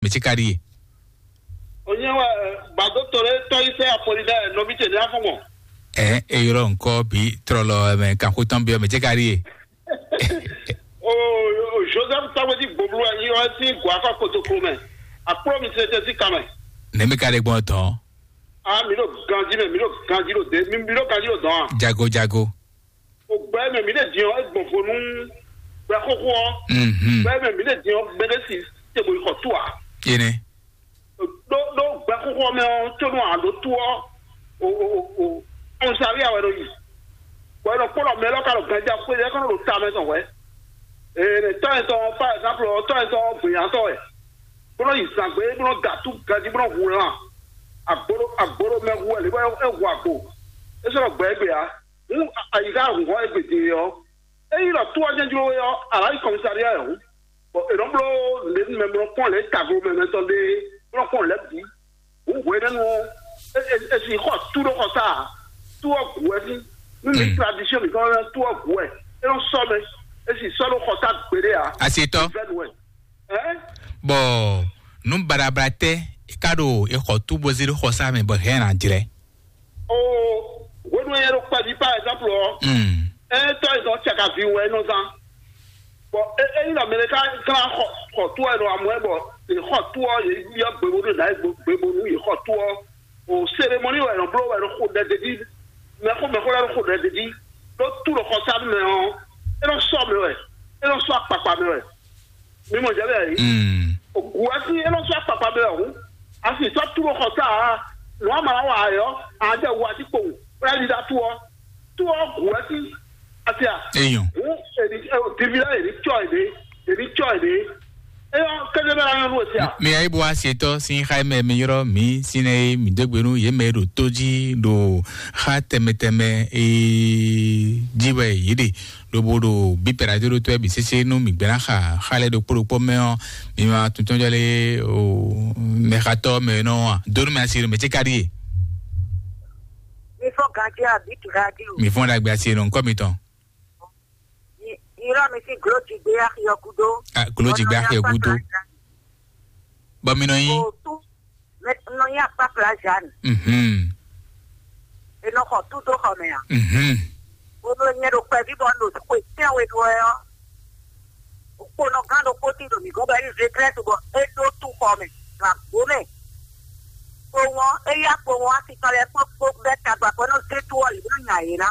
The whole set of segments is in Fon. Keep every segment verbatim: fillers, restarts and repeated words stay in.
Tsi ka ɖíe. Onye wɛ gbadotɔ ɖe tɔ yi sɛ Apolinaire nɔvi ce ne afɔ mɔ. Ɛ, eyɔrɔ nkɔ bi trɔlɔ ɛmɛ kanxo tɔn bi ɔmɛ tsi ka ɖíe. O, o, Joseph Tawedi Gboblu yi ɔ si gwa kɔ kotoklo mɛ. Akplɔ mi se te si kamɛ. Ne mi ka ɖe gbɔn tɔn. A mi ɖo ganji mɛ, mi ɖo ganji ɖo de, mi mi ɖo ganji ɖo dɔn a. Jago jago. O gbɛ mɛ mi ɖe diɔ egbɔn vo nu gbɛ xoxo ɔ. Mhm. Gbɛ mɛ mi ɖe diɔ gbɛ ɖe si te bo yi xɔ tu a. Ene. Ɖó ɖó gbɛ xoxo mɛ ɔ tso nu a ɖo tu ɔ. O o o o. Ɔn sari awɛ ɖo yi. Bɔ e nɔ kpɔ́ ɖɔ mɛ lɔ ka ɖo ganji a xwe ɖe kɔnɔ ɖo ta mɛ tɔn hwɛ. Ee, ne tɔ etɔn, par exemple, tɔ etɔn gbeyantɔ wɛ. Bó nɔ yi zǎngbé, bó nɔ da tú ganjí, bó nɔ hu lan. Agbolo agbolo mɛ hu wɛ lě bɔ é hu agbo. É sɔ́ nɔ gbɛ égbé ǎ. Hǔn ayixa hun hɔn égbé din ɔ́, é yi ɖɔ tó ɔ́ jɛ́n jló é ɔ́, a nǎ yi kɔmísaɖiya wɛ hǔn. Bɔ è nɔ bló lě mɛ bó nɔ kpɔ́n lě taglo mɛ mɛ tɔn ɖé, bó nɔ kpɔ́n lě bǐ. Hǔn hwenɛ́nu ɔ́, é é é si xɔ tú ɖó xɔsá ǎ. Tú ɔ́ gǔ wɛ ní. Nú mi tradition mǐtɔn lɛ́ɛ, tú ɔ́ gǔ wɛ. É nɔ sɔ́ mɛ. É si sɔ́ ɖó xɔsá gbeɖé ǎ. Asitɔ. Vɛ́nu wɛ. Ɛ? Bɔ nú baɖabla tɛ ka ɖo exɔ tú bó zé ɖó xɔsá mɛ bɔ hɛn ná jlɛ. O, hwenu e ɖo kpɛví par exemple ɔ, Mm. Ɛ tɔ e zɔn cakavi wɛ nɔ zan. Bɔ e e yi nɔ mɛ ɖe ka glán xɔ xɔ tú ɛ nɔ amɔ ɛ bɔ e xɔ tú ɔ ye yɔ gbebo ɖo na gbebo nu ye xɔ tú ɔ. O cérémonie wɛ nɔ bló wɛ nɔ xo ɖɛ ɖe ɖi. Mɛxó mɛxó lɛ nɔ xo ɖɛ ɖe ɖi. Ɖó tú ɖo xɔsanu mɛ ɔ, e nɔ sɔ mɛ wɛ, e nɔ sɔ akpakpa mɛ wɛ. Mi mɔ jɛ bɛ yi. Mm. Ogu asi e nɔ sɔ akpakpa bɛ ɔhún. Asi sɔ tu xɔ sa a. Nua ma wa ayɔ. A jɛ wa ti kpo. Wala yi da tu ɔ. Tu ɔ gu asi. Asi a. Eyɔn. Hu eri divi la eri tsɔ ede. Eri tsɔ ede. Eyɔ kɛjɛ bɛ la yɔ nu esi a. Mi ayi bo asetɔ sin xa mɛ mi yɔrɔ mi sinɛ mi degbe nu ye mɛ ɖo to ji ɖo xa tɛmɛ tɛmɛ ee ji wɛ yi ɖe. Lobo ɖo bípɛ́ radio ɖo tɔ́ ɛ bǐ sésé nú mǐ gbɛ́ ná xa xa lɛ́ɛ ɖokpó ɖokpó mɛ ɔ́, mi ma tuntun jɔ lé o mɛxatɔ́ mɛ nɔ a dó nú mɛ asi ɖo mɛ ce ka ɖíe. Mi fɔ ganji a bit radio. Mi fɔ ɖagbe asi nɔ nkɔ mi tɔn. Irɔ mi si glo ti gbe axi ɔ kudo. Ah, glo ti gbe axi ɔ kudo. Bɔ mi nɔ nyi. Nɔ nyi akpakpla Jeanne. Mhm. E nɔ xɔ tu dó xɔ mɛ a? Mhm. Wo nɔ nyɛ ɖo kpɛví bɔ un ɖo xwe tɛnwe ɖu wɛ ɔ́. Kponɔ gán ɖokpó tín ɖo mǐ gɔ́n bɔ é ɖo vétrɛ́t bɔ é ɖó tu xɔ mɛ ɖo agbo mɛ. Kpowɔn, é yá kpowɔn asi tɔn lɛ́ɛ kpó kpó bɛ́ tagba kpó é nɔ zé tu ɔ́ yě nɔ nya yě ná.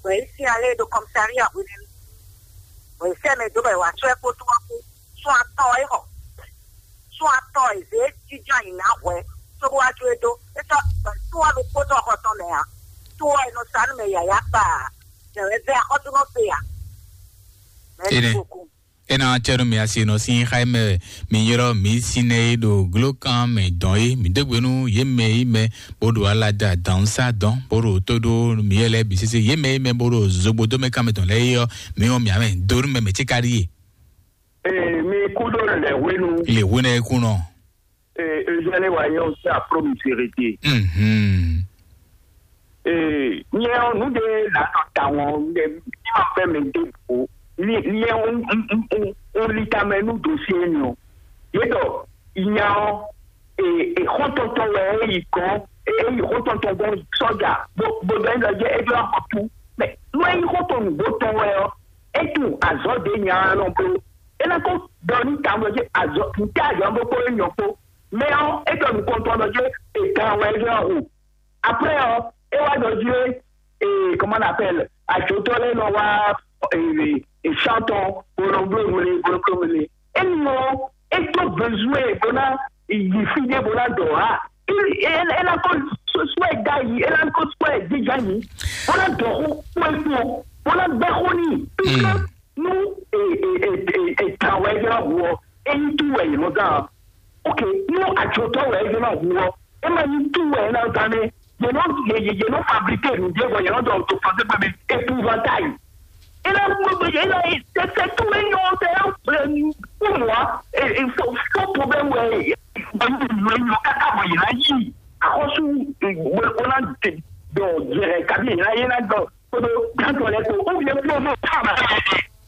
Bɔ é sín alé ɖo kɔmsaria hwenɛ́nu. Bɔ é sɛ́ mɛ dó bɔ è wǎ sɔ́ ɛ kpó tó ɔ́ kpó. Sún atɔn é xɔ. Sún atɔn é zě jínjɔ́n ayǐ ná hwɛ̌, cóbó wá jó é dó. É sɔ́ tó ɔ́ ɖokpó tɔn xɔ tɔn mɛ ǎ. Tó ɔ́ è nɔ sa nú mɛ yǎyá kpa ǎ. Jɛ̌wɛ́ vɛ́ axɔ́súnɔ se ǎ. Mɛ̌si Ene. Koku. Ena cɛ nú mi asi nɔ sín xá mɛ mi yrɔ mi sinɛ e ɖo glókan mɛ dɔn é mi dégbe nú yě mɛ yi mɛ bó ɖo ala da dǎn sá dɔn bó ɖo tó ɖó mi yɛ lɛ bǐ sésé yě mɛ yi mɛ bó ɖo zogbo dó mɛ kan mɛ tɔn lɛ yi ɔ mi wɔn mì amɛ do nú mɛ mɛ tí ka ɖi yé. Ee, mi kú ɖó lɛ̌ hwenu. Lě hwenu ɛ kú nɔ. Ee, Eugène wa yɛ o se apro mi se rete. Mhm. Ee, nyɛ ɔ nu de la nɔ ta wɔn de ni ma fɛ mi de bo. Ni ni ɛ un un un un un li ta mɛ nu dosie ni o. Ye dɔ nya ɔ ee e xɔntɔntɔ wɛ e yi gɔn e yi xɔntɔntɔ gɔn sɔja bo bo dɔ yin lɔ jɛ e jɔ xɔ tu. Mɛ nu e yi xɔntɔ nugbo tɔn wɛ ɔ e tun azɔ de nya ɔ nɔ blo. E na ko dɔ ni ta wɛ jɛ azɔ nte azɔ bo ko e nyɔ ko. Mɛ ɔ e dɔ nukɔntɔn dɔ jɛ e gan wɛ e jɔ o. Après ɔ e wá dɔ jɛ ee comment on appelle àjòtɔ lɛ nɔ wá ee santɔn bolongblo wele bolongblo wele. Enɔ e tó besoin bó ná yi fi ɖé bó ná dɔ ha. E e e na ko sɔɛ da yi e na ko sɔɛ dija yi bó ná dɔ xó kpó e kpó bó ná gbɛ xó ni. Nú e e e e e ta wɛ yɔ wɔ e yi tu wɛ yi lɔ dan. Ok, nú àjòtɔ wɛ yɔ wɔ e ma yi tu wɛ na dan ne. Yɛ nɔ yɛ yɛ yɛ nɔ fabriquer nu de bɔ yɛ nɔ dɔ to français pɛ mɛ épouvantail. E na gbogbo yɛ e na yi tɛtɛ tu wɛ nyɔ tɛ pour moi e e fo fo problème wɛ e ba yi nu nyɔ kaka bɔ yɛ na yi akɔsu e gbogbo na de dɔ yɛrɛ kabi yɛ na yɛ na dɔ. Kodo gantɔ lɛ ko ou bien promo pama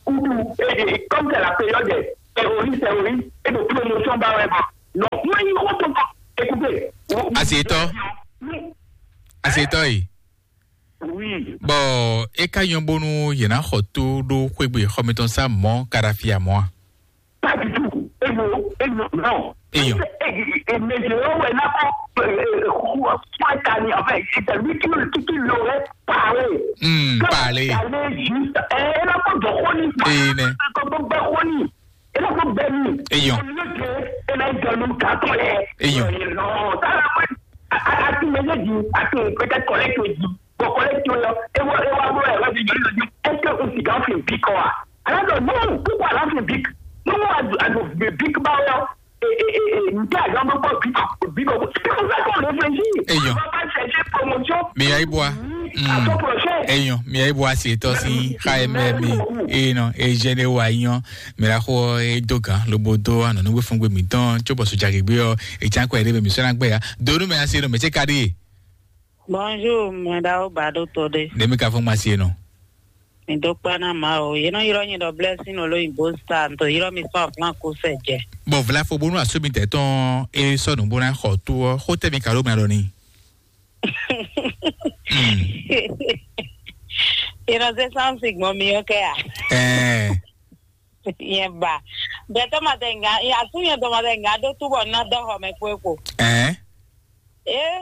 kudu ee comme c'est la période des terroristes terroristes et de promotion ba wɛ bɔ non Asi etɔ. Asi etɔ yi. Oui. Bɔ e ka nyɔ bónú yě ná xɔ tó ɖó xwégbe xɔmɛtɔn sá mɔ̌ Kadhafi a mɔ̌ a? Pas du tout. Et non, et non, non. Et non. Et, et, et, mais je vois, ouais, là, on, euh, euh, quoi, quoi, Tani, enfin, c'est lui qui, qui, qui l'aurait parlé. Hmm, parler. Parler juste, eh, là, on doit, on y va. Et ne. Comme on va, on y. Et là, on va, on y. Et non. Au lieu de, et là, il doit nous calculer. Et non. Non, ça, là, moi, à, à, à tout moment, je dis, à tout, peut-être collègue, je dis, Bon, kɔlɛkti ɔ́, é wá é wá bló ɛ wá di jɔlí lɔ jí. Est-ce que un cigare fait un pic quoi? Alors que non, pourquoi là fait un pic? Non, à à le pic ba là. Et et et et nous t'as jamais pas pic pic. C'est comme ça qu'on réfléchit. Eyɔn. On va pas chercher promotion. Mais ayi bwa. À ton prochain. Eyɔn, mais ayi bwa c'est toi si. Merci beaucoup. Eyɔn, et je ne vois yon. Mais la ko e dogan lo bodo ano no we fun gbe mi ton cho bosu jage gbe o. E chan ko e de mi so na gbe ya. Do no me asi no me che kadi. Bonjour, mɛ ɖawo ba ɖo to ɖe. Ɖe mi ka fún ma sie nɔ. Mi dó kpá ná Mawu. Yě nɔ ylɔ́ nyi ɖɔ Blessing Olóyìnbó Star, to ylɔ́ mi sɔ́ aflán kó sɛ jɛ. Bɔ vlafo bónú asúmi tɛ tɔn e sɔ́ nǔ bó ná xɔ tó ɔ́, xó tɛ́ mi ka ɖó mɛ ɖɔ ni. Yě nɔ zé sánsì gbɔn mi ɔ́ kɛ a? Ɛɛ. Yẹn ba. Bɛtɔ ma tɛ nga, ya su yẹn dɔ ma tɛ nga ɖó túbɔ ná dɔ xɔ mɛ kpó ekpo. Ɛɛ. Ee,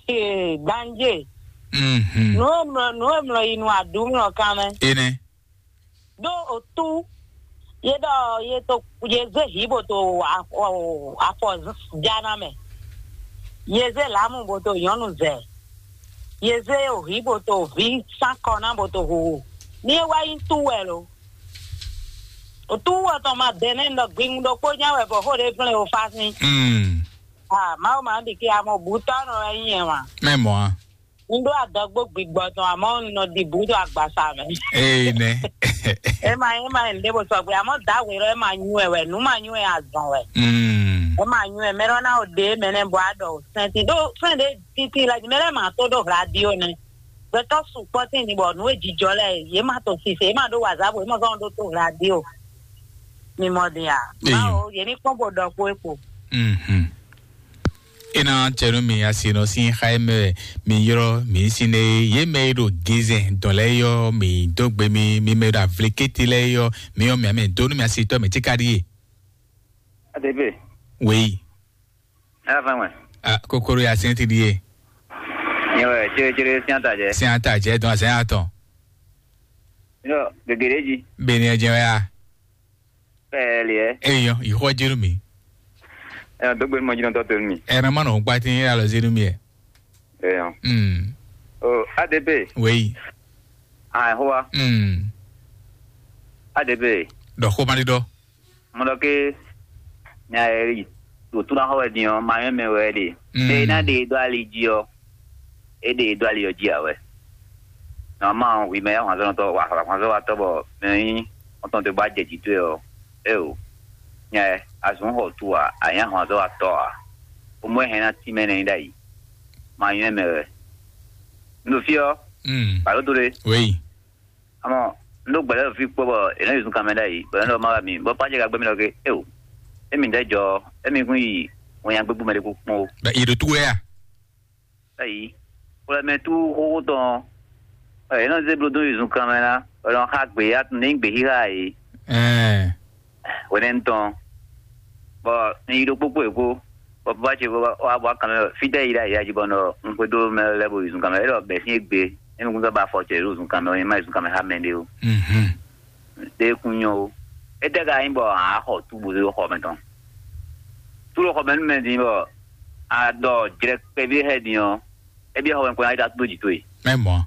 ee, gbanje. Mhm. Nu e mlɔ nu e mlɔ yi nu aɖu mlɔ kan mɛ. Ene. Ɖó otu ye ɖɔ ye to ye zé hi bo to afɔ afɔ jana mɛ. Ye zé lamu bo to nyɔnu zɛ. Ye zé ohi bo to vi san kɔ na bo to hoho. Ni e wá yi tu wɛ lo. Otu wɔ tɔn ma dɛ nɛ nɔ gbingun ɖokpó nya wɛ bɔ xó ɖe flɛ o fa sin. Mm. Ah, Mawu ma ɖi ke amɔ butɔ nɔ wɛ nyɛ wa. Mɛ mɔ a. N ɖo adɔgbo gbigbɔ tɔn amɔ n nɔ ɖi bu ɖo agbasa mɛ. Ee nɛ. Ema ema n ɖe bo sɔgbe amɔ da we lɔ ema nyu ɛ wɛ nu ma nyu ɛ azɔn wɛ. Mm. Ema nyu ɛ mɛ lɔ na o ɖe mɛ nɛ bɔ a ɖɔ o sɛn ti ɖo fɛn ɖe titi la mɛ lɛ ma to ɖo radio nɛ. Gbɛtɔ sukpɔ tin ni bɔ nu e jijɔ lɛ ye ma to sise ye ma ɖo wazabo ye ma zɔn ɖo to radio. Mi mɔ din a? Eyo. Bawo ye ni kpɔn bo ɖɔ kpo e kpo. Mhm. Ena cɛnu mi asi nɔ sin xa mɛ mi yɔrɔ mi sin ne ye mɛ ɖo gizɛn dɔn lɛ yɔ mi dogbe mi mi mɛ ɖo avlikete lɛ yɔ mi yɔ mi amɛ donu mi asi tɔ mi ti ka di ye. Adebe. Wei. Ala fan wɛ. Ah, kokoro ya sɛn ti di ye. Nyɛ wɛ cere cere sian ta jɛ. Sian ta jɛ dɔn sɛn atɔ. Yɔ gege ɖe ji. Beni ɛ jɛ wɛ ya. Ɛɛ liɛ. Eyɔ, yi xɔ jenu mi. Ɛɛ dogbe mɔ jinɔ tɔ to mi. Ɛɛ ma nɔ gba ti ya lɔ zenu mi ɛ. Eyɔ. Hmm. O A D P. Wei. Ah, hoa. Hmm. A D P. Dɔ xo ma di dɔ. Mo ɖɔ ke nya e ɖo tún ná xɔ wɛ din ɔ́, ma nyɔ́ mɛ wɛ é ɖe. Mm. Ɖe e ná ɖe e dó ali jí ɔ́, é ɖe e dó ali ɔ́ jí ǎ wɛ. Nɔmá ɔ́, hwi mɛ e nyí ahwanzɔ́watɔ́ wa ahwanzɔ́watɔ́ bɔ mɛ e nyí xɔ́ntɔn towe bó wá jɛ jǐ towe ɔ́, éeǒ. Nya e, a zɔ̌n xɔ tu ǎ, a nyǐ ahwanzɔ́watɔ́ ǎ. Xomɔ e hɛn ná tín mɛ nɛ́ nyí ɖ'ayǐ. Ma nyɔ́ mɛ wɛ. Un ɖo fí ɔ́, Mm. bǎ ɖó to ɖé. Oui. Amɔ, un ɖó gbɛ̌ lɛ́ɛ ɖo fí kpɔ́ bɔ è nɔ́ yi zunkan mɛ ɖ'ayǐ, bɔ è nɔ́ ɖɔ má wá mi, bɔ Pajɛ ka gbɛ́ mì ɖɔ ké, éo, émí ɖɛ́ jɔ, émí kún yi wɛnyagbégbé mɛ ɖé kún kpɔ́n ó. Bɛ yi ɖo tú wɛ a? Eyi, xwlɛmɛ tú xóxó tɔn, ɛ, è nɔ́ zé bló dó yi zunkan mɛ ná, bɔ è nɔ xa gbě, a tunwun ní gbě xíxá ǎ é. Ɛɛ. Hwenɛ́nu tɔn, bɔ un yi ɖo kpókpó yě kpó, bɔ baba ce wá bɔ akan mɛ fítɛ́ yi ɖ'ayǐ ají bɔ nɔ un xwedó mɛ lɛ́ɛ bo yi zunkan mɛ, é ɖɔ bɛ̌ sín égbé, émi kún sɔ́ ba afɔ ce ɖo zunkan mɛ, é má yi zunkan mɛ xá mɛɖé ó. Mhm. Ɖé kún nyɔ́ ó. Étɛ́ ka nyí bɔ a xɔ tú bo dó xɔ mɛ tɔn? Tú ɖo xɔ mɛ nú mɛ din bɔ a ɖɔ jlɛ kpɛví hɛ din ɔ́, é byɔ́ xɔ mɛ kpɔ́n ná yi ta dó jǐ towe. Mɛ mɔ̌.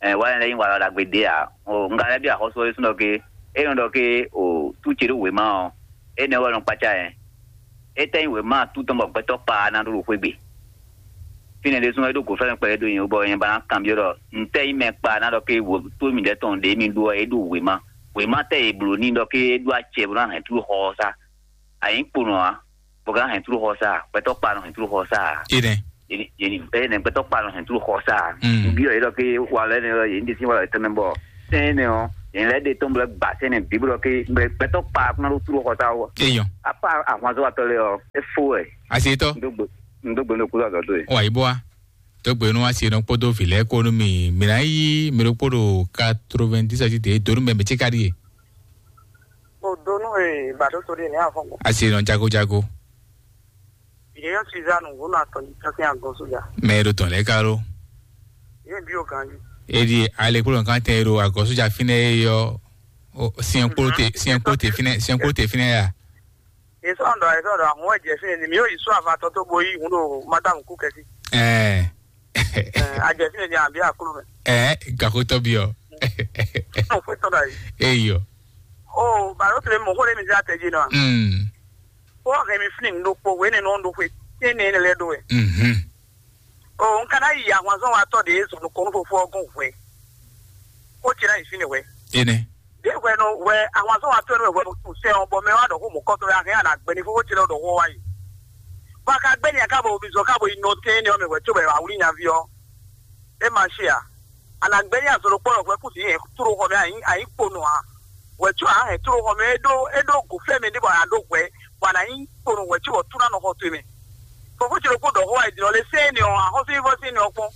Ɛ wa lɛ nyí wala ɖagbe ɖé ǎ. O un ka lɛ́ byɔ́ axɔ́sú ɔ́ ɖésú ɖɔ ké é nɔ ɖɔ ké o tú ce ɖó wěma ɔ́, énɛ́ wɛ nɔ kpácá ɛ. É tɛ́ nyí wěma tú tɔn bɔ gbɛtɔ́ kpa ná ɖó ɖo xwé gbe. Fínɛ́ ɖésú é ɖó gǒfɛ́nɛ kpɛɖé dó nyi bɔ nyɛ ba ná kanbyɔ́ ɖɔ ntɛ́ nyí mɛ kpa ná ɖɔ ké wǒ tó mǐdɛɛ tɔn ɖě mi ɖó ɔ́, é ɖó wěma. Wěma tɛ́ è blǒ n'i ɖɔ ké é ɖó acɛ bó ná hɛn tú ɖo xɔ ɔ́ sá. A nyǐ kponɔ ǎ, bɔ ka hɛn tlú xɔ sá, gbɛtɔ́ kpa nɔ hɛn tlú xɔ sá. Enɛ. Yéni yéni ene gbɛtɔ́ kpa nɔ hɛn tlú xɔ sá. Mm. Nbí ɔ yé ɖɔ ké wa lɛ ne yé ní ɖe sí wa tɛmɛ bɔ sɛn ne ɔ yɛn lɛ de tɔn blɛ gba sɛn ne bí blɔ ké gbɛtɔ́ kpa kún ná ɖó tlú xɔ sá wɔ. Eyɔn. Apa ahwanzɔ atɔ lɛ ɔ efo ɛ. Asetɔ. Ndo gbe. Un dó gbe nú kúzú azɔ̌ towe. Wà yí bó wá. Dó gbe nú asi nɔ kpódó vǐ lɛ́ɛ kpó nú mi. Mǐ ná yí mi ɖokpó ɖo quatre-vingt-dix ɔ́ jí dě dó nú mɛ mɛ ce ka ɖíe. O donu e ba ɖo to ɖe ne afɔ gbɔ. Asi nɔ jago jago. Ye yɔ Suzanne ŋu na tɔ ni tɔ sin agɔ soja. Mɛ e ɖo tɔn lɛ́ɛ ka ɖo. Ye bi o gan yi. E ɖi ale kpó lɔn kan tɛ e ɖo agɔ soja fínɛ́ e yɔ. Siɛn kpó te siɛn kpó te fínɛ́ siɛn kpó te fínɛ́ ya. Esɔn dɔ esɔn dɔ ahun wɛ jɛ fínɛ́ ni mi yɔ yi sɔ avatɔ tó bo yi hun ɖo madame kú kɛsi. Ɛɛ. Ajɛ fínɛ́ ni abi akulu mɛ. Ɛɛ gakotɔ bi ɔ. Mo fue tɔn da yi. Eyɔ. O baro tile mo xo le mi se atɛ ji nɔ. Mm. O hɛn mi fini ŋu ɖokpo wene nɔ ɖo xwe tɛnɛ ne lɛ ɖo wɛ. Mhm. O n kana yi ahwanzɔn wa tɔ de zɔn kɔnu fofo ɔgɔn hwɛ. Ko tira yi fini wɛ. Ene. De hwɛ no wɛ ahwanzɔn wa tɔ ne wɛ tu sɛ ɔ bɔ mɛ wa ɖɔ ko mo kɔtɔ ya hɛn ana gbɛ ni fofo tile ɖɔ ko wa yi. Ba ka gbɛ ni ka bo bi zɔ ka bo yi nɔ tɛnɛ ɔ mɛ wɛ tso bɛ wa wuli nyavi ɔ. E ma se a. Ana gbɛ ni azɔn ɖokpɔ wɛ kú si hɛn turo xɔ mɛ ayi ayi kpo nɔ a. Wɛ tso a hɛn turo xɔ mɛ e ɖo e ɖo go fɛ mɛ ɖe bɔ a ɖo hwɛ bɔ ana yi kpo nɔ wɛ tso bɔ tuna nɔ xɔ to mɛ. Fɔfɔ tsi ɖokpɔ ɖɔ xɔ wa yi dinɔ le sɛn ni ɔ axɔsɔ yi fɔ sɛn ni ɔ kpɔn.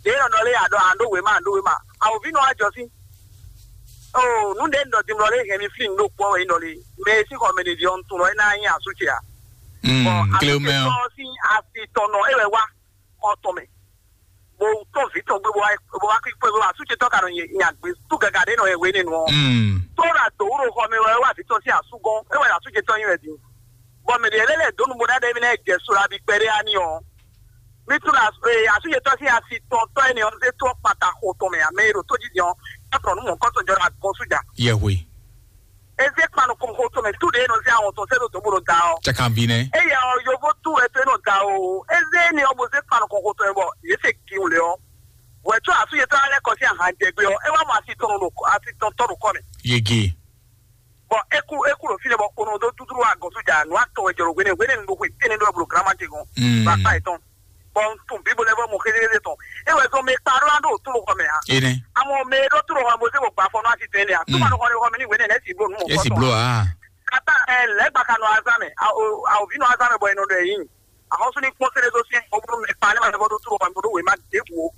Ɖe nɔ nɔ le a ɖɔ a ɖo wema a ɖo wema. Awo vi nɔ wa jɔ si. Oo nu ɖe nɔ dimlɔ le hɛn mi fi nu ɖo kpɔ wɛ nɔ le. Mɛ si xɔ mɛ ɖe di ɔ ntun lɔ e na nyi asu tsi a. Mm, Bɔn kle asu mɛ tsi ɔ. Tɔ si asi tɔ nɔ e wɛ wa xɔ tɔn mɛ. Bo tɔn vi tɔn gbe bo wa bo wa kí kpé bo wa asu tsi tɔ ka nɔ nya gbe tu gaga ɖe nɔ yɛ wene nɔ. Mm. Tó la do wuro xɔ mɛ wɛ wa vi tɔn si asu gɔn e wɛ asu tsi tɔ nyi wɛ di. Bɔn mɛ ɖe lɛ lɛ donu bo ɖaɖa mi lɛ jɛ so la bi kpɛɖe ani ɔ. Mi tu la ee asu tsi tɔ si asi tɔn tɔ ene ɔ se tɔ kpata xo tɔn mɛ ame e ɖo tó dzi di ɔ. Atɔ nu mɔ kɔtɔ jɔ la gɔn su ja. Yɛhwe. Eze kpanu kɔn xo tɔn mɛ tu ɖe nɔ se awɔn tɔn se ɖo dɔn bo ɖo da ɔ. Cakanvi nɛ. Eya ɔ yovo tu wɛ to nɔ da o. Eze ne ɔ bo se kpanu kɔn xo tɔn mɛ bɔ ye se kiw le ɔ. Wɛ tso asu yetɔ alɛ kɔ si ahan jɛ gbe ɔ. E wa mɔ asi tɔn ɖo asi tɔn tɔ ɖo kɔ mɛ. Yege. Bɔn eku eku ɖo fi lɛ bɔ kono do dudru wa gɔsu ja nu atɔ wɛ jɛ ɖo hwene hwene nu ɖo hwe tɛnɛ ɖo blo grama te gɔn. Mm. Ba kpa etɔn. Bɔn n tun biblo lɛ bɔ mo xézéxézé tɔn. E wɛ zɔn mɛ kpa ɖo an ɖo to xɔ mɛ a. Ene. Amɔ mɛ ɖo to xɔ mɛ bo se bo gba fɔ nɔ asi tɛnɛ a. Tuma ɖo xɔ ne xɔ mɛ ni hwene lɛ si blo nu mɔ. Esi blo a. Kata ɛ lɛ gba ka nɔ azan mɛ. Awo awo vi nɔ azan mɛ bɔ enɔ ɖɔ eyin. Ahɔnso ní kpɔ́n sɛ́dɛ́ dó syɛ́n, bó bónú mɛ kpa ní ma lɛ́ vɔ́ ɖó tló hɔn bó ɖó wěma ɖěbǔ ó.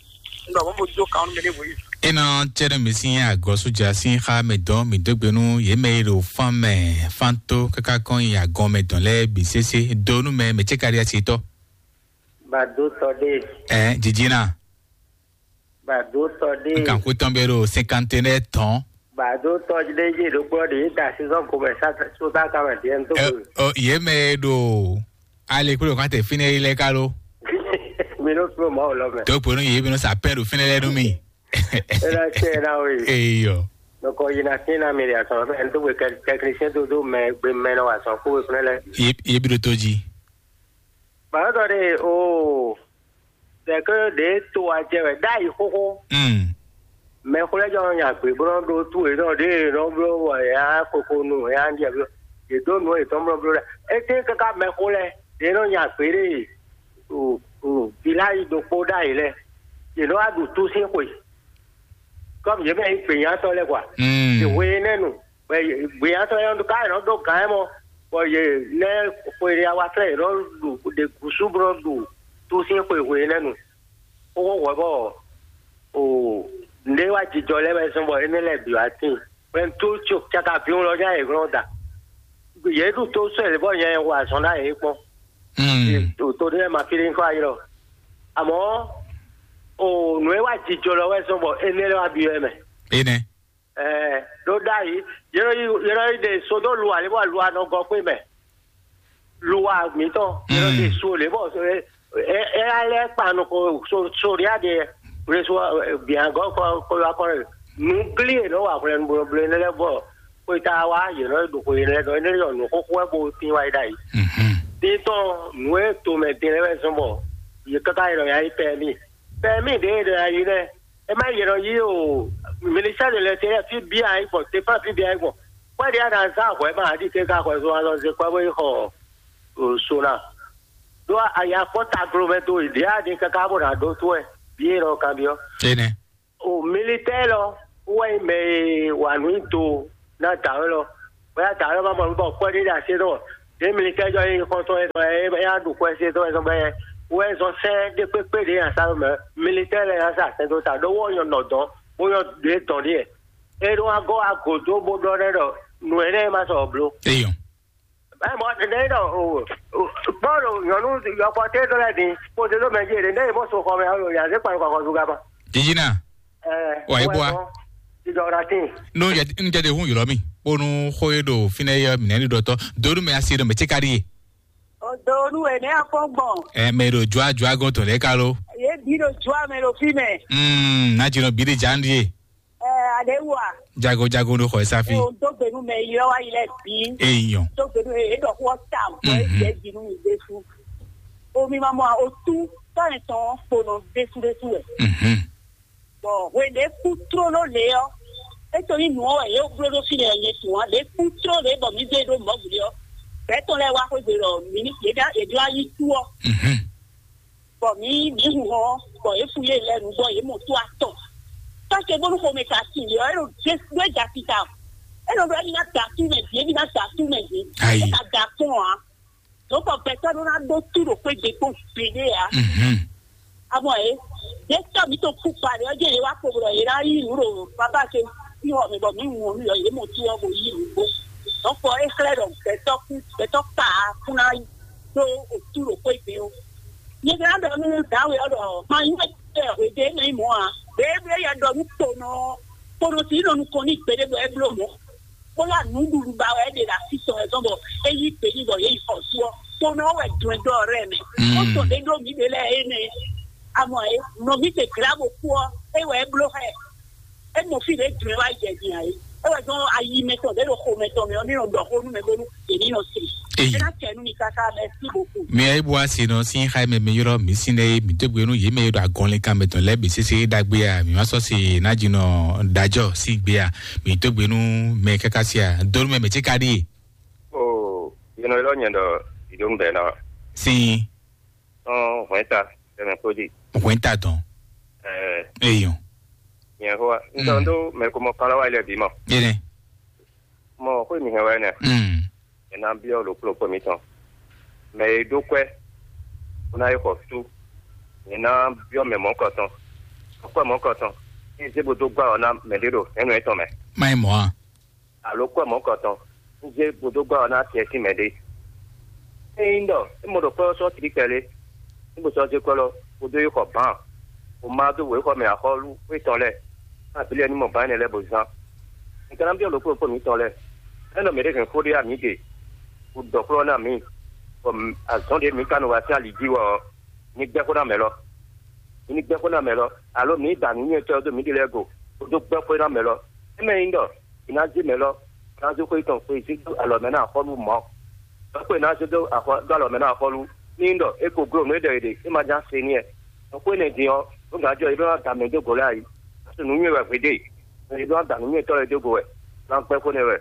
Un ɖɔ mɔ̌ bó jó kan nú mɛ ɖěbǔ yí. Enɔ cɛ́ɖɛ mǐ sín agɔ̌sújá sín xá mɛ dɔn mǐ dó gbe nú yě mɛ e ɖo fán mɛ fán tó káká kɔn nyi agɔn mɛ dɔn lɛ́ɛ bǐ sésé dó nú mɛ mɛ cɛ́ ka ɖi asi tɔ́. Bado tɔ ɖe. Ɛ jijina. Bado tɔ ɖe. Nkan kú tɔn bɛ ɖo cinquante et un tɔn. Bado tɔ ɖe yé ɖokplɔ ɖe yé da saison ko mɛ sa so sa ka mɛ diɛ n tó. Ɛ ko. Ɔ yé mɛ e ɖo ale kúlò kan tɛ fínɛ yi lɛ ká ló. Mi ló fún mɔ o lɔ mɛ. Tó ponu yé mi nɔ sa pɛn ɖo fínɛ lɛ nú mi. Ena tse ena o yi. Eyɔ. Nɔkɔ yi na sin na mi de asɔ mɛ n tó wɛ technicien tó dó mɛ gbé mɛ nɔ wa sɔn kó wɛ fúnɛ lɛ. Yé yé bi ɖo tó jí. Bado tɔ ɖe o. Tɛkɛ ɖe to wa jɛ wɛ ɖ'ayi xoxo. Mm. Mɛxó lɛ́ɛ jɔ nɔ nya gbě bó nɔ ɖó tú yě nɔ ɖě yě nɔ bló bɔ yě á koko nu yě á ɖiɛ bló yě dó nǔ yětɔn bló bló lɛ. Étɛ́ káká mɛxó lɛ́ɛ yě nɔ nya gbě ɖé ɖo ɖo viláyi ɖokpó ɖ'ayǐ lɛ́ɛ yě nɔ wá ɖu tú sín xwe. Kɔ́mu yě mɛ nyí gběnyátɔ́ lɛ́ɛ kwa. Mm. Yě hwe énɛ́ nu. Bɔ gběnyátɔ́ lɛ́ɛ ɖo ká yě nɔ ɖó gǎn ɛ mɔ, bɔ yě nɛ́ xwe ɖé awa flɛ́ yě nɔ ɖu ɖe gǔsú bó nɔ ɖu tú sín xwe hwe énɛ́ nu. Xóxó hwɛ bɔ o nɖé wá jijɔ lɛ́ɛ wɛ zɔn bɔ énɛ́ lɛ́ɛ bǐ wá tíin. Hwɛntú tso caka vǐwun lɔ nya yě glɔ́n da. Yě ɖu tó sɔ́ yě bɔ nya yě hu azɔn ná yě kpɔ́n. Mm. To ɖé ma fí ɖé kɔ ayi lɔ. Àmọ́ o nǔ e wá jijɔ lɔ wɛ zɔn bɔ énɛ́ lɛ́ɛ wá byɔ́ ɛ mɛ. Énɛ́. Ɛɛ ɖó ɖ'ayǐ yě nɔ yi yě nɔ yi ɖe so dó lu ǎ lě bɔ lu ǎ nɔ gɔ́ xwé mɛ. Lu ǎ mǐtɔn yě nɔ ɖe so lě bɔ ɛ ɛ alɛ kpa nɔ ko so so ɖé aɖe reso bia gɔ́ kɔ kɔ yɔ akɔ nú glí è nɔ wa hwlɛ́nú blo blo énɛ́ lɛ́ɛ bɔ xweta wa yě nɔ ɖo xwe yě lɛ́ɛ nɔ énɛ́ yɔ nǔ xóxó wɛ bó tín wa yi ɖ'ayǐ. Tíntɔn nǔ e tomɛ din lɛ́ɛ wɛ zɔ́n bɔ yě káká yě nɔ ya yi pɛ́mí pɛ́mí ɖě e nɔ ya yi lɛ́ɛ. E ma yɛlɛ yi o ministère de l'intérieur fi bia yi gbɔn défense fi bia yi gbɔn kpɛɖe a na zan hwɛ ma adi ke ka hwɛ zo alɔ ze kpɛ bo yi xɔ o sona do a ya kpɔ taglo mɛ do yi ɖe a di kaka bo na do to ɛ bi e lɔ kan biɔ. Ene. O militaire lɔ wɛ yi mɛ e wa nu yi do na da wɛ lɔ wɛ ya da wɛ lɔ ma mɔ nu bɔ kpɛɖe ɖe ase dɔ Ɖě militɛ́ jɔ nyí xɔntɔn e tɔn e yá ɖu xwɛ se tɔn e tɔn bɛ wɛ zɔn sɛ́n ɖé kpékpé ɖě nyi asá mɛ. Militɛ́ lɛ́ɛ ná sa sɛn dó ta ɖó wó nyɔ nɔ dɔn bó nyɔ ɖě dɔn ɖíe. É ɖó wá gɔ́ wá gǒ dó bó ɖɔ ɖɛ ɖɔ nǔ énɛ́ e ma sɔ bló. Eyɔn. Ɛ mɔ ɖe ɖɔ o kpɔ́ ɖo nyɔ̌nu yɔkpɔ́ tɛ́ ɖɔ lɛ́ɛ din kpódó ɖó mɛ jí ɖe ɖe mɔ so xɔ mɛ alo yǎ zé kpan kɔkɔ zugaba. Jijina. Ɛ Wà á yí bó wa. Jijɔ ɖa tín. Nú jɛ nú jɛ de hun ylɔ mi bónú xó e ɖo fínɛ́ yɛ mǐnɛ ní ɖɔtɔ donu mɛ asi ɖo mɛ tsi ka ɖi ye. Odonu ene akɔgbɔn. Ɛ mɛ ɖo jua jua gɔn tɔn lɛ ka lo. Ye bi ɖo jua mɛ ɖo fi mɛ. Mm, na dzi nɔ bi ɖe dza ɖi ye. Ɛ ade wa. Jago jago ɖo xɔ ɛ safi. O do gbenu mɛ yi lɔ wa yi lɛ bi. Eyɔn. Do gbenu e ɖɔ xɔ tam. Mhm. Ye bi nu mi de su. O mi ma mɔ o tu tɔ ne tɔn kponɔ de su de su wɛ. Mhm. Bɔ hwe ɖě kú tlóló lě ɔ́, é to nyí nǔ ɔ́ wɛ yě bló ɖó fínɛ́ ɔ́, nyɛ tunwun ǎ. Ɖě kú tlóló lě bɔ mǐ zé ɖó mɔ̌ gblě ɔ́, gbɛ̌ tɔn lɛ́ɛ wá xwégbe ɖɔ mǐ ní yě ɖá yě jló ayí kú ɔ́, Mhm. Bɔ mǐ mǐ hu hɔn ɔ́, bɔ yě fu yé lɛ́ɛ nǔ bɔ yě mɔ tó atɔn. Tɔ́ ce bónú xomɛ ka sin yě ɔ́, é ɖo ɖé ɖó é ja tita o. É nɔ ɖɔ émí ná da tú mɛ bǐ, émí ná da tú mɛ bǐ. Ayi. É ka da kpɔ́n ǎ. Dǒ bɔ gbɛtɔ́ ɖó ná ɖó tú ɖo xwé gbe kpɔ́n gbeɖé ǎ. Mhm. Amɔ é, ɖě tɔ́ mǐ tɔn kú kpa ɖe ɔ́, jẹ́ yě wá kpo ɖɔ yě ná yí nǔ ɖo babá ce sín xɔ mɛ bɔ mǐ wɔn nú yɔ yě mɔ tú ɔ́ bo yí nǔ gbó. Dɔ̌nkpɔ é xlɛ́ ɖɔ gbɛtɔ́ kú, gbɛtɔ́ kpa kú ná dó otú ɖo xwé gbe ó. Nyɛ ka ná ɖɔ nú dǎwe ɔ́ ɖɔ ma nyí wɛ tɛ hwedě mɛ nyí mɔ̌ ǎ. Ɖěe ɖě yɛ ɖɔ nú kponɔ ɔ́, kponɔ tí nɔ nukɔn n'i gbeɖé bɔ é bló mɔ̌. Bó lá nǔɖuɖu ba wɛ é ɖe ɖo así tɔn wɛ zɔn bɔ é yí gbe n'i bɔ yě yi xɔ sú ɔ́, kponɔ ɔ́ wɛ dɔn ɛ dó ɔrɛ́ mɛ. Mm. Ó sɔ ɖě ɖó mǐ ɖě lɛ́ɛ énɛ́. Amɔ é, nɔví ce glá bó kú ɔ́, é wɛ é bló xá ɛ. É mɔ fí ɖě dun ɛ wá jɛ din ǎ é. É wɛ zɔn ayi mɛtɔn ɖě ɖo xo mɛtɔn mɛ ɔ́, ní nɔ ɖɔ xó nú mɛ bónú yě ní nɔ se. Eyi. É ná kɛ nú mi káká, mɛsí boku. Mi ayi bu asi nɔ sín xá mɛ mi ylɔ́ mi sín ɖe mi dó gbe nú yě mɛ e ɖo agɔnlin kan mɛtɔn lɛ́ɛ bǐ sésé ɖagbe a mi ma sɔ́ se ná dzi nɔ ɖajɔ sín gbe a mi dó gbe nú mɛ káká sí a dó nú mɛ mɛ tí ka ɖíe. O yɛnɛ lɔ nyɛ ɖɔ ìdó ŋbɛ ná. Sín. Ɔn hwɛn ta tɛmɛ kpó dzi. Hwɛn ta tɔn. Ɛɛ. Eyɔn. Nyɛ xó wa n tɔ n tó mɛ ko mɔ kpala wa ilẹ̀ bí mɔ. Yɛnɛ. Mɔ xó mi hɛn wa ɛnɛ. Mm. Ɛ ná biɔ lo kplɔkplɔ mi tɔn. Mɛ e ɖó kwɛ. Ó ná yi xɔ sú. Ɛ ná biɔ mɛ mɔ̌kɔtɔn. Kwɛ mɔ̌kɔtɔn. Ní zé bo dó gbá ɔ ná mɛ ɖé ɖo hɛnnu ɛtɔn mɛ. Má yi mɔ a. Alo kɔ mɔ̌kɔtɔn, un zé gbodógbá ɔ́ ná acɛ sín mɛ ɖé. Ényí ɖɔ é mɔ ɖo kpɔ́ ɔ́ sɔ́ tlí kpɛɖé, é bo sɔ́ zé kɔ́ lɔ, gbodó yi xɔ bǎn, bó má dó wěxɔ mɛ axɔ́lú étɔn lɛ́ɛ, ná abǐ lɛ́ɛ ní mɔ bǎn énɛ́ lɛ́ɛ bó zán. Un ka ná byɔ́ ɖokpó ɖokpó mǐtɔn lɛ́ɛ, é nɔ mǐ ɖě hɛn xó ɖé ǎ mǐ ɖe, bó ɖɔ xlɔ́ ná mǐ, bɔ azɔ̌n ɖě mǐ ka nɔ wa sín ali jí wɛ ɔ́, mi gbɛ́ xó ná mɛ lɔ. Mi ní gbɛ́ xó ná mɛ lɔ, alo mi ní da nǔnywɛ́tɔ́ dó mǐɖée lɛ́ɛ go, bó dó gbɛ́ xó ná mɛ lɔ. Émɛ nyí ɖɔ è nǎ zé mɛ lɔ, è nǎ zé xwé tɔn xweyǐzí dó alɔ mɛ ná axɔ́lú mɔ̌. Ɖɔ̌kpó è nǎ zé dó axɔ dó alɔ mɛ ná axɔ́lú, ní nyí ɖɔ é ko gló nǔ e ɖɔ è ɖe, é ma ján se n'i wɛ. Ɖɔ̌kpó énɛ́ din ɔ́, é gǎn jɔ é ɖó ná da mɛ dó go lɛ́ɛ ayǐ. Nǔnywɛ́ wɛ hwedéè, é ɖó ná da nǔnywɛ́tɔ́ lɛ́ɛ dó go wɛ, ná gbɛ́ xó nɛ́ wɛ.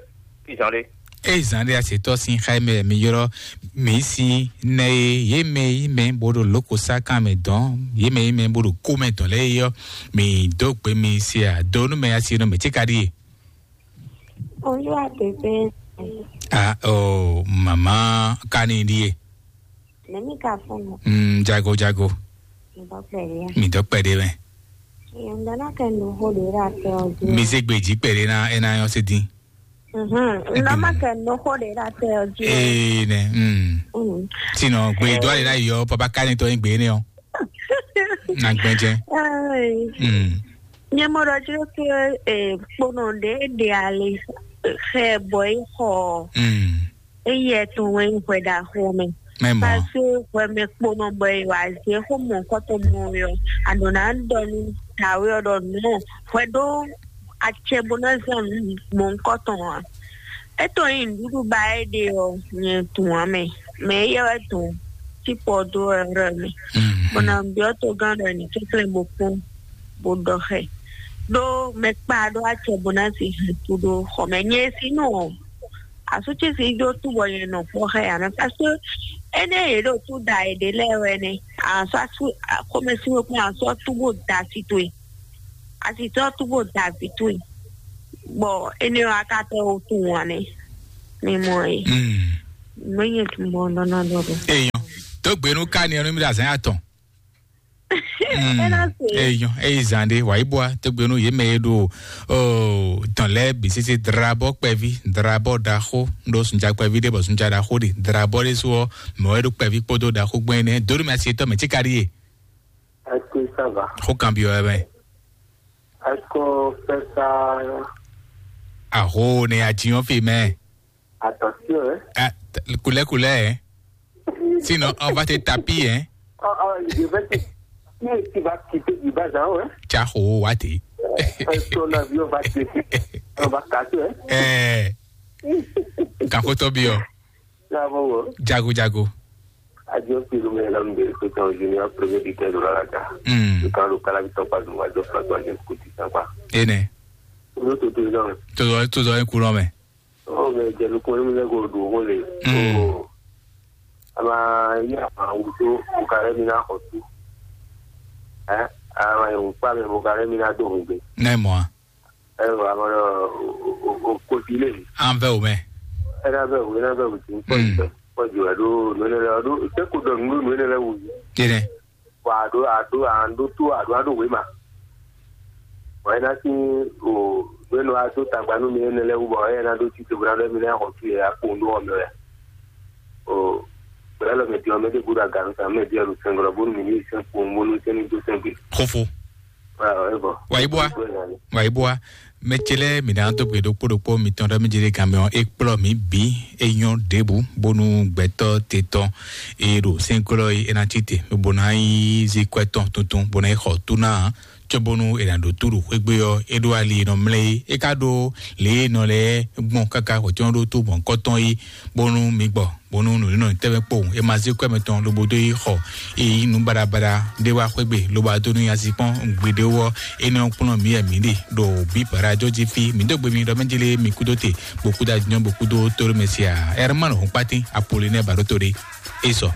Fí zán ɖé. Eye zǎn ɖé asetɔ́ sín xá mɛ mi ylɔ́ mǐ sí nɛ e yě mɛ yí mɛ bó ɖo lǒkosá kan mɛ dɔn, yě mɛ yí mɛ bó ɖo kó mɛ dɔn lɛ́ɛ yɔ́, mǐ dó gbe mi se a do nú mɛ asi nɔ mɛ tí ka ɖíe. Olúwa bèbè. A o màmá kani ɖíe. Nɛmi ka fún mi. Mm, jago jago. Ŋdɔ kpɛɖe ya. Mi dɔ kpɛɖe mɛ. Ŋdɔ na kɛ nu xó ɖe ɖe atɛ ɔdzi. Mi se gbeji kpɛɖe na ena yɔ se din. Mhm. Ŋdɔ ma kɛ nu xó ɖe ɖe atɛ ɔdzi. Ee ne. Mm. Mm. Sinɔ gbe dɔ ale la yɔ papa kani tɔ yin gbe ne ɔ. Na gbɛjɛ. Ee. Mm. Nyɛ mɔ ɖɔ tsi ɖo ke, eh, kponɔ ɖe ɖe ali xɛ bɔ yi xɔ. Mm. Eyi etɔn wɛ nyí hwɛ ɖaxó mɛ. Mɛ mɔ. Parce que hwɛ mɛ kponɔ bɔ yi wa zé xó mɔ kɔtɔ mɔ yɔ. Anɔ na ɖɔ nu tawe ɔ ɖɔ nɔ hwɛ ɖo acɛ bó ná zan nu mɔ kɔtɔ wa. Etɔn yi nuɖuɖu ba e ɖe ɔ nyɛ tun wa mɛ. Mɛ eyɛ wɛ tun tí pɔ dó ɛrɛ mɛ. Mm. Bó ná biɔ tó gán ɖɔ ní kɛkɛ bó kpɔn bó ɖɔ xɛ. Ɖó mɛ kpa ɖó acɛ bó ná si hɛn tu ɖó xɔ mɛ. Nyɛ si nɔ Asútsi si ɖó túbɔ nyɛ nɔ kpɔ́ xá ya mɛ, parce que énɛ́ yě ɖo tú da yěɖée lɛ́ɛ wɛ nɛ́. Asú asú xomɛsin wɛ kpɔ́n asú ɔ́ túbɔ da asi towe. Asi tɔ́ túbɔ da vǐ towe. Bɔ énɛ́ wɛ a ka tɛ wo tunwun ǎ nɛ́. Mi mɔ é. Mm. Mwenye tumbo nɔ na dɔ do. Eyan, to gbenu ka ni ɔnu mi da zan atɔn. Ena se. Eyan, eyi zan de, wa ibo a, to gbenu ye me do. Oh, dans les bisisi drabɔ kpɛvi, drabɔ daxo, do sunja kpɛvi de bɔ sunja daxo de, drabɔ de so, mɛ wɛ do kpɛvi kpodo daxo gbɛn ne. Dori ma se to me ti kari ye. Est-ce que ça va? Xo kan bi wɛ mɛ. Est-ce qu'on fait ça? Aho ne a ti yɔn fi mɛ. Attention, hein? Ah, t- couleur, couleur, hein? Sinon, on va te taper, hein? Oh, oh, je vais te... Si tu vas quitter du bas en haut, hein? Tsa xo wa te. Euh, ton avion va te. On va casser, hein? Eh. Kakotɔ bi o. Là, bon, bon. Jago, jago. Adieu, Pilou, mais l'homme de Pétan Junior, premier buteur de la Raja. Hmm. Le camp local, avec ton pas de moi, Dieu, François, James Kuti, sympa. Ene. Nous, tout le temps. Tozɔ, tozɔ en courant, mais. Oh, mais Dieu, nous connaissons les gros, nous, on les. Hmm. Oh. Ama, il y a un outil, au carré, mina, au tout. Hein? Ama, il y a un pas, mais au carré, mina, do, on. Ne, moi. Ɛ wɔ amɔ lɔ o o o koti lé. An vɛ o mɛ. Ɛ na vɛ o, ɛ na vɛ o ti. Pɔju wɛ ɖo nɔnɛ lɛ ɖo seko dɔ nu nɔnɛ lɛ wu. Tɛnɛ. Wa a ɖo a ɖo a ɖo to a ɖo a ɖo wema. Wa ɛ na si o nɔnɛ wa do tagba nu mi ɛnɛ lɛ wu bɔ ɛ na ɖo tite bra ɖe mi na xɔ tu yɛ akpo ndo ɔmɛ wɛ. O gbɛlɛ lɔ mɛ di ɔmɛ de gbɔdɔ aganu sa mɛ di ɛlu sɛngɔlɔ bonu mi ni sɛn kpo bonu sɛn ni do sɛn gbe. Xofo. Wa iboa. Wa iboa. Mɛ ce lɛ mi na do gbe ɖokpó ɖokpó mitɔn ɖɔ mi jɛ ɖe gan mɛ ɔ, e kplɔ mi bi e nyɔ ɖebu bonu gbɛtɔ te tɔn e ɖo sɛnklɔ e e na tite bó na yi zi kwɛ tɔn tuntun bó na yi xɔ tu na, cɔ bonu e na ɖo tu ɖo xwegbe ɔ e ɖo ali e nɔ mlɛ yi e ka ɖo le e nɔ lɛ gbɔn kaka wɛtɔn ɖo tu bɔn kɔtɔn yi bonu mi gbɔ. Bonu nǔnínɔ tɛnmɛ kpowun e ma zé kwɛ́ mɛtɔn lobo dó yi xɔ e yí nǔ baɖabaɖa ɖé wá xwégbe lobo adó nú nyazi kpɔ́n gbeɖé wɔ. Énɛ́ ɔ́ kplɔ́n mǐ wɛ mǐ ɖe ɖo bǐ Parado jí fí. Mǐ dó gbe mi ɖɔ mɛ jélé mi kúdó te, bó kúdó ajínjɔ́n, bó kúdó tóɖó mɛ sia. Ɛrmán Hɔnkpátín Apolinɛ́ɛ Baɖóto ɖé é sɔ.